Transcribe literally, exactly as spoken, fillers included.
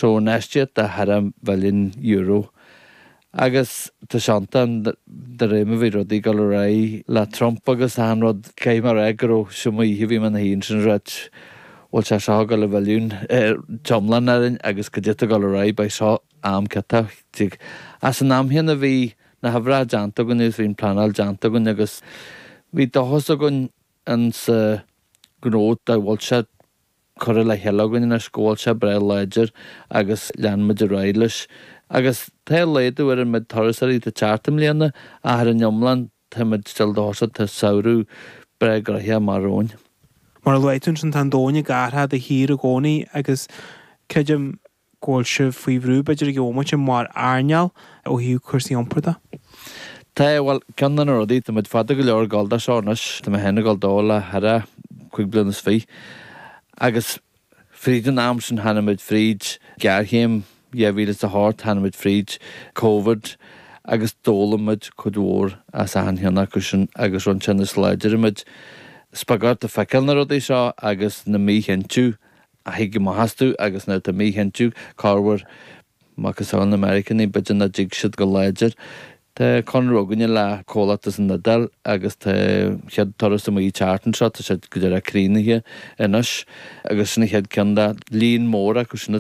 So infheistíocht de cheithre mhilliún euro. Agus tá sé iontach de réir mar bhí rudaí ag dul ar aghaidh le Trump agus achan rud caithfidh mé a rá go raibh sin mo oíche bhí mé ina shuí ansin ag ráit bhfuil sé seo ag dul i bhfilliún iomlán orainn agus go dtí ag dul ar aghaidh beidh seo am ciotach. As an am chéanna bhí na huimhreacha déanta againn agus bhí an pleanáil déanta againn agus bhí dóchas againn an sa gnó dá bhfuil sé curtha le chéile againn anois go bhfuil sé breá láidir agus lean muid ar aghaidh leis. Agus tá laghdú ar an méid turasóirí atá ag teacht i mbliana ach ar an iomlán táimid still dóchasach tá samhradh breá gnoitheach amach romhainn. Mar a luaigh tú ansin tá an domhan ag athrú de shíor i gcónaí agus creidim go bhfuil sibh faoi bhrú b'fhéidir ag an bhomaite mar earnáil ó thaobh cúrsaí iompair de. Tá bhuel ceann de na rudaí tá muid fada go leor ag dul dó seo anois tá mé féin ag dul dó le thar cúig bliana is fiche agus fríd an am sin tháinig muid fríd géarchéim dhá mhíle is a hocht tháinig muid fríd Covid agus d'fhoghlaim muid cuid mhór as achan cheann acu sin agus rinne sé níos láidre muid. Is beag ort ag feiceáil na rudaí seo agus na míchinntiú a thig amach astu agus nuair atá míchinntiú corruair macasamhail na Meiriceánaigh b'fhéidir nach dtig siad go láidir. Tá conradh againne le comhlacht as an Iodáil agus tá chéad turas amuigh teacht anseo tá siad go deireadh críochnaithe anois agus sin an chéad ceann de líon mór acu sin